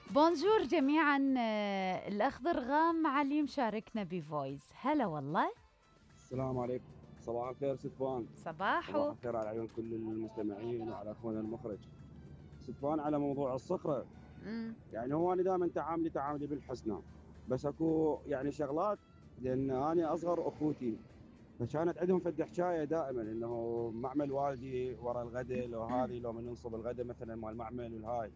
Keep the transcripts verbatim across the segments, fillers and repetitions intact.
بونجور جميعا. آه، الأخ ضرغام علي مشاركنا بفويس. هلا والله. السلام عليكم. صباح الخير ست فان. صباحو. صباح الخير على عيون كل المستمعين وعلى اخونا المخرج. ست فان، على موضوع الصخره، مم. يعني هو انا دائما تعاملي تعاملي بالحسنى، بس اكو يعني شغلات، لان انا اصغر اخوتي فكانت عندهم فد حكايه دائما انه معمل والدي ورا الغداء، لو هذه لو من ننصب الغداء مثلا مال المعمل والهاي،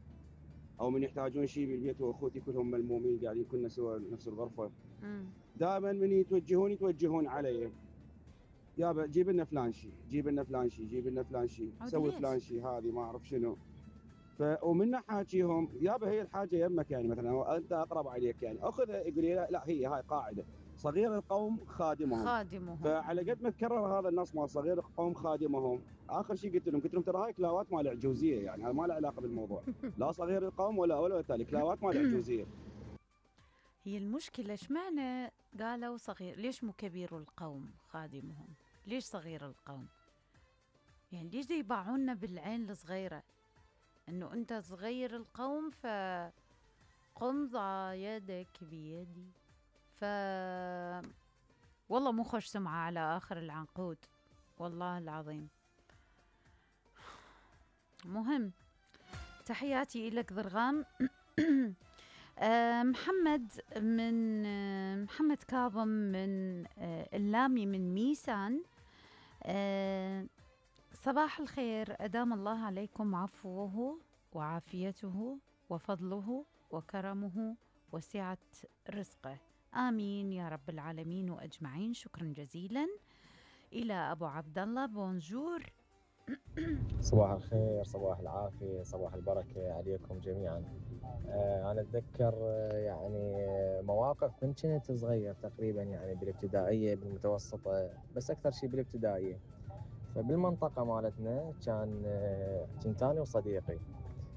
او من يحتاجون شيء بالبيت واخوتي كلهم ملمومين قاعدين كلنا سوا نفس الغرفه، مم. دائما من يتوجهون يتوجهون علي، يابا جيب لنا فلان شيء، جيب لنا فلان شيء، جيب لنا فلان شيء، سوي فلان شيء، هذه ما اعرف شنو. ف ومن حاجيهم يابا هي الحاجه يمك، يعني مثلا انت اقرب عليك، يعني اخذها يقول لي لا, لا هي هاي قاعده صغير القوم خادمهم. خادمهم. فعلى قد ما تكرر هذا النص مال صغير القوم خادمهم، اخر شيء قلت لهم قلت لهم ترى هاي كلاوات مال عجوزيه، يعني هذا ما له علاقه بالموضوع. لا صغير القوم ولا ولا تالي، كلاوات مال عجوزيه. هي المشكلة اشمعنى قالوا صغير؟ ليش مو كبير القوم خادمهم؟ ليش صغير القوم؟ يعني ليش دي يباعونا بالعين الصغيرة انه انت صغير القوم فقم ضع يدك بيدي؟ ف والله مو خوش سمعة على آخر العنقود، والله العظيم. مهم. تحياتي إلك ضرغام. محمد من محمد كاظم من اللامي من ميسان. صباح الخير، أدام الله عليكم عفوه وعافيته وفضله وكرمه وسعة رزقه، آمين يا رب العالمين وأجمعين. شكرا جزيلا. إلى أبو عبد الله. بونجور. صباح الخير، صباح العافية، صباح البركة عليكم جميعا. آه أنا أتذكر آه يعني مواقف من كنت صغير تقريبا، يعني بالابتدائية بالمتوسطة، بس أكثر شيء بالابتدائية. فبالمنطقة مالتنا كان آه كنت أنا وصديقي